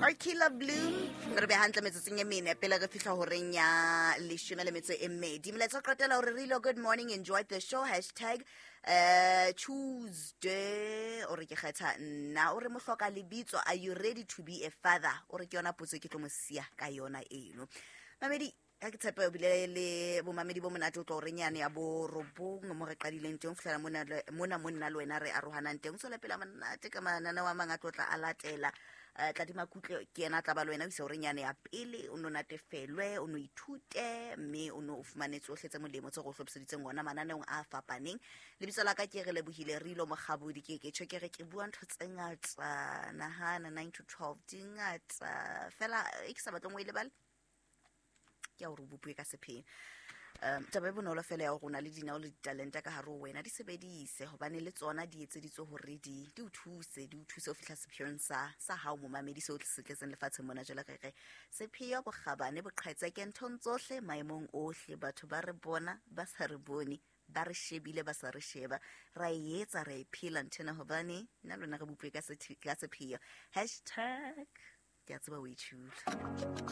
Arkila Bloom re be hantle metsotsong e mene pele re fihla horeng ya 12. Molaetsa o qetela hore re ilo good morning, enjoy the show, hashtag Tuesday. O re ke kgetha nna, o re mohloka lebitso, are you ready to be a father? O re ke yona potso e ke tlo mo siya ka yona eno. Mamedi, ka ke tshepe o bile le bomamedi bo monate o tlo horeng yane ya borobong mo re qadileng teng ho fihlela mona mo nna le wena re arohanang teng. O tswele pele a monate ka mananeo a mang a tlo tla a latela. Tladima Kutlwe ke yena a tla ba le wena o isa horeng yane ya pele, o no natefelwe, o no ithute, mme o no o fumane tsohle tse molemo tse go hlophiseditseng ona mananeong a fapaneng. Lebitso la ka ke re lebohile Rilo Mokgabodi, ke ke tjho ke re ke bua ntho tse ngata, nahana 9 to 12 di ngata fela, e ke sa batleng o e lebale ke ya hore o bopue ka sepheo. Taba e bonolo fela ya hore o na le dinao le ditalente ka hare ho wena, di sebedise hobane le tsona di etseditswe hore di o thuse, di o thuse ho fihla sepheong sa hao momamedi, seo se tletseng lefatsheng mona. Jwale re re sepheo, bokgabane, boqhetseke nthong tsohle, maemong ohle, batho ba re bona ba sa re bone, ba re shebile ba sa re sheba, ra e etsa, ra e phela nthwena hobane nna lona re bopue ka sepheo. Hashtag ke a tseba o e tjhula.